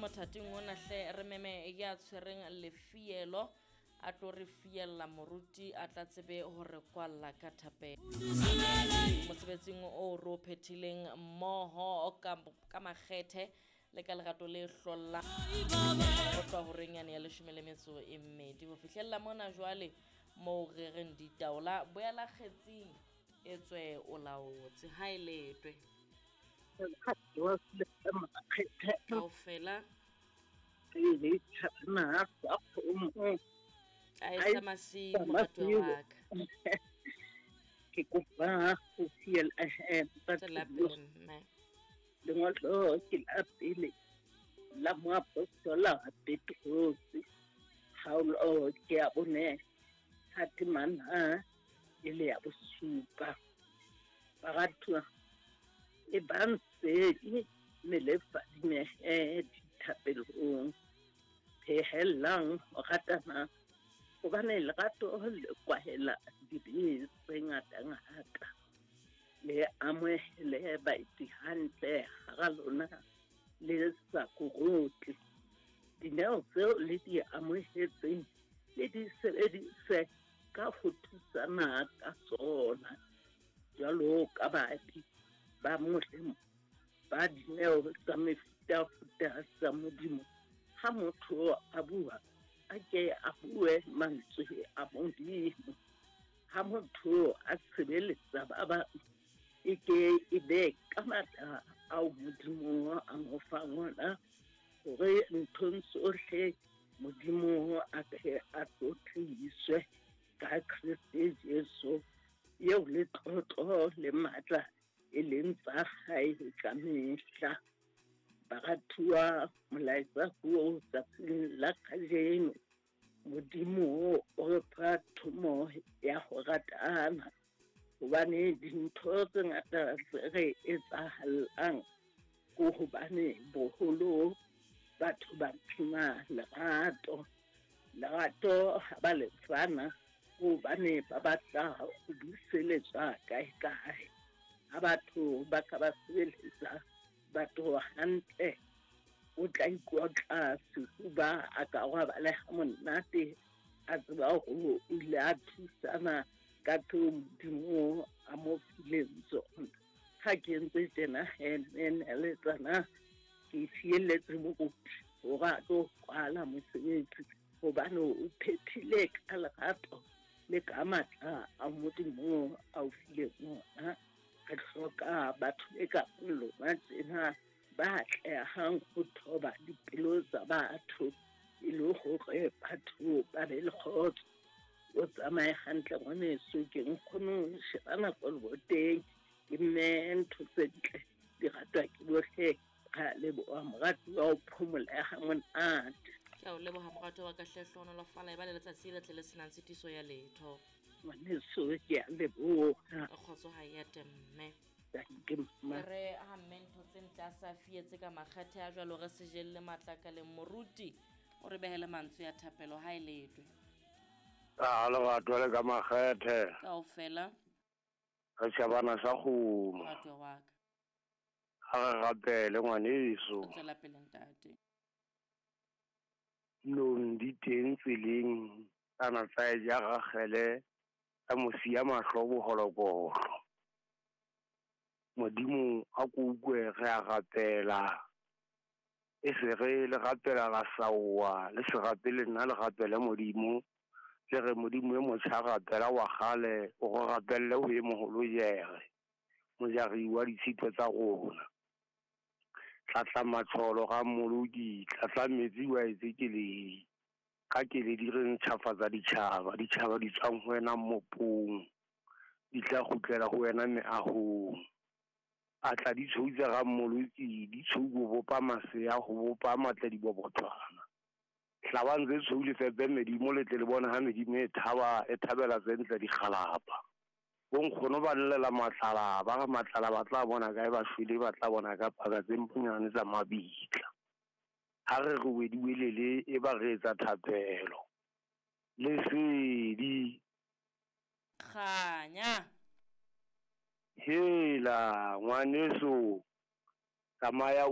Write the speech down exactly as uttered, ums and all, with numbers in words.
mothating ona hle re meme ya tshwereng lefielo a tlo re fiella moruti a tla tsebe hore kwalla ka thapelo. Mosebetsing o ro phethileng mmoho ka ka makgethe le ka lerato le hlolla ho tloha horeng yane ya leshome le metso e mmedi ho fihlella mona jwale moo re reng ditaola boela kgetsing e tswe o laotse ha e letwe kaofela a e sa masiu moratuwa wa ka. Ke kopa ho fiela Tswela pele mme. Lengolo ke la pele la moapostola Petrose kgaolo ke ya bone ha temana e le ya bosupa. Baratuwa e bang sedi mme le fadimehe dithapelong, phehellang ho ratana hobane lerato le kwahela dibe tse ngatangata. Le amohele baeti hantle hara lona le sa korotle. Dineo tseo le di amohetseng le di sebedise ka ho thusana ka tsona jwalo ka baabi ba molemo ba dineo tsa mefutafuta tsa Modimo. Ha motho a bua a ke a bue mantswe a Modimo. Ha motho a sebeletsa ba bang e ke e be ka matla ao Modimo a mo fang ona hore nthong tsohle Modimo a tle a tlotliswe ka Kreste Jesu eo letlotlo le matla e leng tsa hae ka mehla. Baratuwa, molaetsa ko tsatsing la kajeno Modimo o re fa thomo ya ho ratana hobane dintho tse ngata tse re etsahallang ko hobane boholo batho ba phima lerato. Lerato ha ba le fana hobane ba batla ho buseletswa kae kae. Ha batho ba ka ba sebeletsa batho hantle o tla ikotla sefuba a ka robala ha monate a tseba hore o ile a thusana ka tseo Modimo a mo fileng tsona. Ha ke ntse tjena he neletsana ke fielletse moruti hore a tlo kwala mosebetsi hobane o phethile ka lerato le ka matla a Modimo a o fileng ona. Re hloka batho e ka lona tjena ba atlehang ho thoba dipelo tsa batho e le hore batho ba be le kgotso. O tsamaye hantle ngwaneso, ke nkgono sheba nako leboteng ke mme ntho tse ntle di ratwa ke bohle. Ra leboha moratuwa o phomole ha monate. Ke a o leboha moratuwa wa ka hle, hlohonolofala e ba le letsatsi le tle le senang tshitiso ya letho. Ngwaneso ke a leboha. Kgotso ha e ate mme. Danke mma. Re ha mme ntho tse ntle a sa fietse ka makgethe a jwalo re se jelle matlakaleng moruti o re behele mantswe ya thapelo ha e letwe. A lerato le ka makgethe. Kaofela. Re tjhabana sa kgomo. Moratuwa wa ka. Ha re rapele ngwaneso. O tswela pele ntate. Nong di teng tseleng kana tsa e ja Ragele tsa mo siya mahlo boholokolo. Modimo a ko utlwe re a rapela. E se re le rapela la saowa le se rapele nna le rapele Modimo. Le re Modimo e motjha rapela wa kgale o go rapelle ho e moholo jere mojari wa ditshito tsa rona. Tlatla matsholo ga mmoloki, tlatla metsi wa etse keledi. Ka keledi re ntjhafatsa ditjhaba, ditjhaba di tswang ho wena mmopong, di tla kgutlela ho wena meahong. A tla di tshou tsa ga mmoloki, di tshou ho bopa masea, ho bopa matla dibobothwana. Hlabang tse tshweu le fepe medimo le tle le bone ha medimo e thaba e thabela tse ntle dikgalapa. Bonkgono ba llela matlala, ba re matlala ba tla bona kae ba shwele, ba tla bona ka paka tse mpunyane tsa mabitla. Ha re re wediwelele e ba re etsa thapelo. Lesedi. Kganya. Hela ngwaneso, tsamaya.